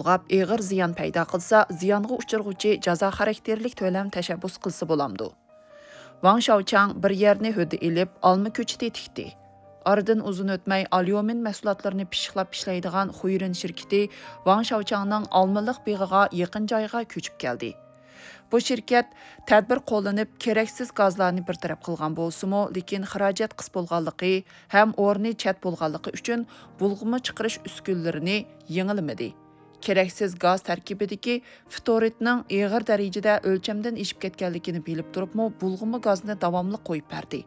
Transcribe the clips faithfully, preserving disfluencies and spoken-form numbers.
بۇلغاپ ئېغىر زىيان پەيدا قىلسا، زىيانغا ئۇچرىغۇچى جازا خاراكتېرلىك تۆلەم تەشەببۇس قىلسا بولامدۇ؟ ۋاڭ شياۋچاڭ بىر يەرنى ھۆددە ئېلىپ، ئالما كۆچىتى تىكتى. ئارىدىن ئۇزۇن ئۆتمەي، ئاليۇمىن مەھسۇلاتلىرىنى پىششىقلاپ ئىشلەيدىغان خۇيرىن شىركىتى ۋاڭ شياۋچاڭنىڭ ئالمىلىق بېغىغا يېقىن جايغا كۆچۈپ كەلدى. بۇ شىركەت تەدبىر قوللىنىپ، كېرەكسىز گازلارنى بىر تەرەپ قىلغان بولسىمۇ، لېكىن خىراجەت قىس بولغانلىقى ھەم ئورنى چەت بولغانلىقى ئۈچۈن بۇلغىما چىقىرىش ئۈسكۈنىلىرىنى يېڭىلىمىدى. كېرەكسىز گاز تەركىبىدىكى فتورىدنىڭ ئېغىر دەرىجىدە ئۆلچەمدىن ئېشىپ كەتكەنلىكىنى بىلىپ تۇرۇپمۇ، بۇلغىما گازنى داۋاملىق قويۇپ بەردى.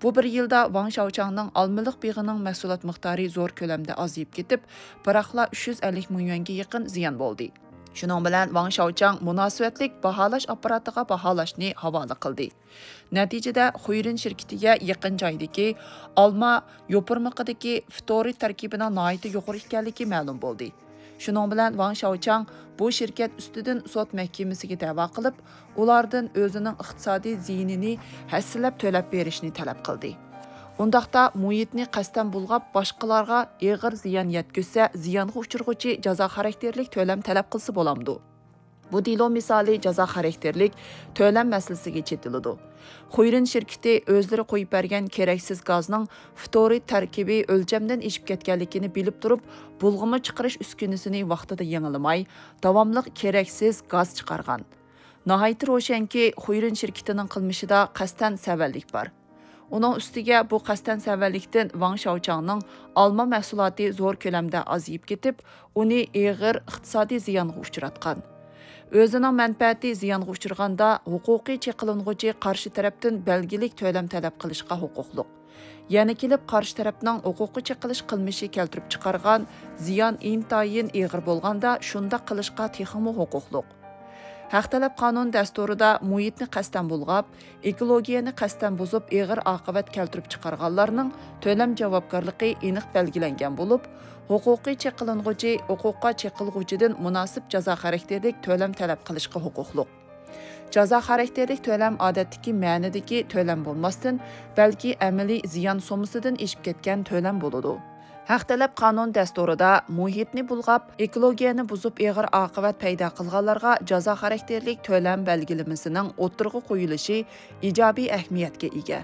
بۇ بىر يىلدا ۋاڭ شياۋچاڭنىڭ ئالمىلىق بېغىنىڭ مەھسۇلات مىقدارى زور كۆلەمدە ئازىيىپ كېتىپ، بىراقلا ئۈچ يۈز ئەللىك مىڭ يۈەنگە يېقىن زىيان بولدى. شۇنىڭ بىلەن ۋاڭ شياۋچاڭ مۇناسىۋەتلىك باھالاش ئاپپاراتىغا باھالاشنى ھاۋالە قىلدى. نەتىجىدە، خۇيرىن شىركىتىگە يېقىن جايدىكى ئالما يوپۇرمىقىدىكى فتورىد تەركىبىنىڭ ناھايىتى يۇقىرى ئىكەنلىكى مەلۇم بولدى. شۇنىڭ بىلەن ۋاڭ شياۋچاڭ بۇ شىركەت ئۈستىدىن سوت مەھكىمىسىگە دەۋا قىلىپ، ئۇلاردىن ئۆزىنىڭ ئىقتىسادىي زىيىنىنى ھەسسىلەپ تۆلەپ بېرىشنى تەلەپ قىلدى. ئۇنداقتا مۇھىتنى قەستەن بۇلغاپ، باشقىلارغا ئېغىر زىيان يەتكۈزسە، زىيانغا ئۇچرىغۇچى جازا خاراكتېرلىك تۆلەم تەلەپ قىلسا بولامدۇ؟ بۇ دېلو مىسالى جازا خاراكتېرلىك تۆلەم مەسىلىسىگە چېتىلىدۇ. خۇيرىن شىركىتى ئۆزلىرى قويۇپ بەرگەن كېرەكسىز گازنىڭ فتورىد تەركىبى ئۆلچەمدىن ئېشىپ كەتكەنلىكىنى بىلىپ تۇرۇپ، بۇلغىما چىقىرىش ئۈسكۈنىسىنى ۋاقتىدا يېڭىلىماي، داۋاملىق كېرەكسىز گاز چىقارغان. ناھايىتى روشەنكى، خۇيرىن شىركىتىنىڭ قىلمىشىدا قەستەن سەۋەنلىك بار. ئۇنىڭ ئۈستىگە بۇ قەستەن سەۋەنلىكتىن ۋاڭ شياۋچاڭنىڭ ئالما مەھسۇلاتى زور كۆلەمدە ئازىيىپ كېتىپ، ئۇنى ئېغىر ئىقتىسادىي زىيانغا ئۇچراتقان. ئۆزىنىڭ مەنپەئەتى زىيانغا ئۇچرىغاندا، ھوقۇقىي چېقىلىنغۇچى قارشى تەرەپتىن بەلگىلىك تۆلەم تەلەپ قىلىشقا ھوقۇقلۇق. يەنە كېلىپ قارشى تەرەپنىڭ ھوقۇققا چېقىلىش قىلمىشى كەلتۈرۈپ چىقارغان زىيان ئىنتايىن ئېغىر بولغاندا، شۇنداق قىلىشقا تېخىمۇ ھوقۇقلۇق. ھەق تەلەپ قانۇن دەستۇرىدا مۇھىتنى قەستەن بۇلغاپ، ئېكولوگىيەنى قەستەن بۇزۇپ، ئېغىر ئاقىۋەت كەلتۈرۈپ چىقارغانلارنىڭ تۆلەم جاۋابكارلىقى ئېنىق بەلگىلەنگەن بولۇپ، ھوقۇقىي چېقىلىنغۇچى ھوقۇققا چېقىلغۇچىدىن مۇناسىپ جازا خاراكتېرلىك تۆلەم تەلەپ قىلىشقا ھوقۇقلۇق. جازا خاراكتېرلىك تۆلەم ئادەتتىكى مەنىدىكى تۆلەم بولماستىن، بەلكى ئەمەلىي زىيان سوممىسىدىن ئېشىپ كەتكەن تۆلەم بولىدۇ. ھەق تەلەپ قانۇن دەستۇرىدا مۇھىتنى بۇلغاپ، ئېكولوگىيەنى بۇزۇپ ئېغىر ئاقىۋەت پەيدا قىلغانلارغا جازا خاراكتېرلىك تۆلەم بەلگىلىمىسىنىڭ ئوتتۇرىغا قويۇلۇشى ئىجابىي ئەھمىيەتكە ئىگە.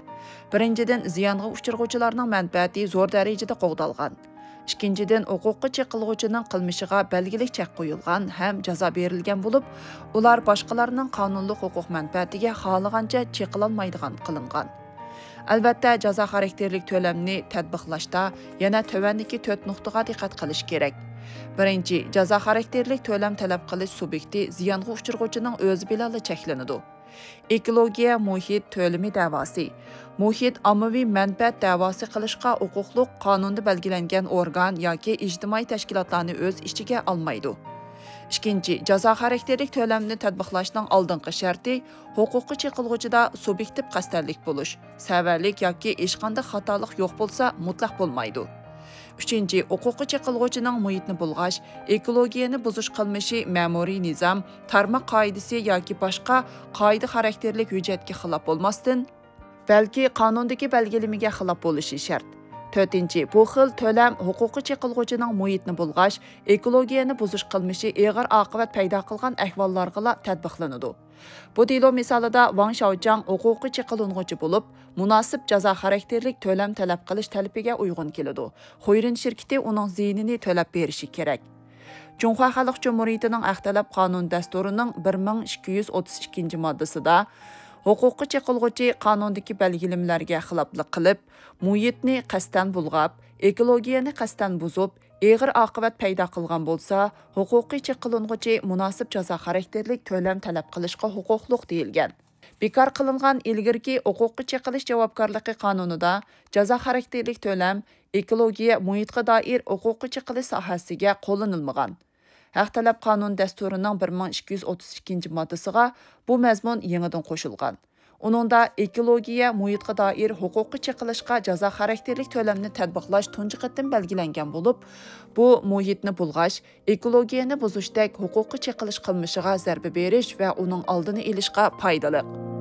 بىرىنچىدىن، زىيانغا ئۇچرىغۇچىلارنىڭ مەنپەئەتى زور دەرىجىدە قوغدالغان. ئىككىنچىدىن، ھوقۇققا چېقىلغۇچىنىڭ قىلمىشىغا بەلگىلىك چەك قويۇلغان ھەم جازا بېرىلگەن بولۇپ، ئۇلار باشقىلارنىڭ قانۇنلۇق ھوقۇق مەنپەئەتىگە خالىغانچە چېقىلالمايدىغان قىلىنغان. ئەلۋەتتە، جازا خاراكتېرلىك تۆلەمنى تەتبىقلاشتا يەنە تۆۋەندىكى تۆت نۇقتىغا دىققەت قىلىش كېرەك. بىرىنچى، جازا خاراكتېرلىك تۆلەم تەلەپ قىلىش سۇبيېكتى زىيانغا ئۇچرىغۇچىنىڭ ئۆزى بىلەنلا چەكلىنىدۇ. ئېكولوگىيە مۇھىت تۆلىمى دەۋاسى. مۇھىت ئاممىۋى مەنپەئەت دەۋاسى قىلىشقا ھوقۇقلۇق قانۇندا بەلگىلەنگەن ئورگان ياكى ئىجتىمائىي تەشكىلاتلارنى ئۆز ئىچىگە ئالمايدۇ. ئىككىنچى، جازا خاراكتېرلىك تۆلەمنى تەتبىقلاشنىڭ ئالدىنقى شەرتى ھوقۇققا چېقىلغۇچىدا سۇبيېكتىپ قەستەنلىك بولۇش، سەۋەنلىك ياكى ھېچقانداق خاتالىق يوق بولسا مۇتلەق بولمايدۇ. ئۈچىنچى، ھوقۇققا چېقىلغۇچىنىڭ مۇھىتنى بۇلغاش، ئېكولوگىيەنى بۇزۇش قىلمىشى مەمۇرىي نىزام، تارماق قائىدىسى ياكى باشقا قائىدە خاراكتېرلىك ھۆججەتكە خىلاپ بولماستىن، بەلكى قانۇندىكى بەلگىلىمىگە خىلاپ بولۇشى شەرت. تۆتىنچى، بۇ خىل تۆلەم ھوقۇققا چېقىلغۇچىنىڭ مۇھىتنى بۇلغاش، ئېكولوگىيەنى بۇزۇش قىلمىشى ئېغىر ئاقىۋەت پەيدا قىلغان ئەھۋاللارغىلا تەتبىقلىنىدۇ. بۇ دېلو مىسالىدا ۋاڭ شياۋچاڭ ھوقۇققا چېقىلىنغۇچى بولۇپ، مۇناسىپ جازا خاراكتېرلىك تۆلەم تەلەپ قىلىش تەلىپىگە ئۇيغۇن كېلىدۇ. خۇيرىن شىركىتى ئۇنىڭ زىيىنىنى تۆلەپ بېرىشى كېرەك. جۇڭخۇا خەلق جۇمھۇرىيىتىنىڭ ھەق تەلەپ قانۇن دەستۇرىنىڭ بىر مىڭ ئىككى يۈز ئوتتۇز ئىككىنچى ماددىسىدا، ھوقۇققا چېقىلغۇچى قانۇندىكى بەلگىلىمىلەرگە خىلاپلىق قىلىپ، مۇھىتنى قەستەن بۇلغاپ، ئېكولوگىيەنى قەستەن بۇزۇپ، ئېغىر ئاقىۋەت پەيدا قىلغان بولسا، ھوقۇققا چېقىلىنغۇچى مۇناسىپ جازا خاراكتېرلىك تۆلەم تەلەپ قىلىشقا ھوقۇقلۇق دېيىلگەن. بىكار قىلىنغان ئىلگىرىكى ھوقۇققا چېقىلىش جاۋابكارلىقى قانۇنىدا جازا خاراكتېرلىك تۆلەم ئېكولوگىيە، مۇھىتقا دائىر ھوقۇققا چېقىلىش ساھەسىگە قوللىنىلمىغان. ھەق تەلەپ قانۇن دەستۇرىنىڭ بىر مىڭ ئىككى يۈز ئوتتۇز ئىككىنچى ماددىسىغا بۇ مەزمۇن يېڭىدىن قوشۇلغان. ئۇنىڭدا ئېكولوگىيە، مۇھىتقا دائىر ھوقۇققا چېقىلىشقا جازا خاراكتېرلىك تۆلەمنى تەتبىقلاش تۇنجى قېتىم بەلگىلەنگەن بولۇپ، بۇ مۇھىتنى بۇلغاش، ئېكولوگىيەنى بۇزۇشتەك ھوقۇققا چېقىلىش قىلمىشىغا زەربە بېرىش ۋە ئۇنىڭ ئالدىنى ئېلىشقا پايدىلىق.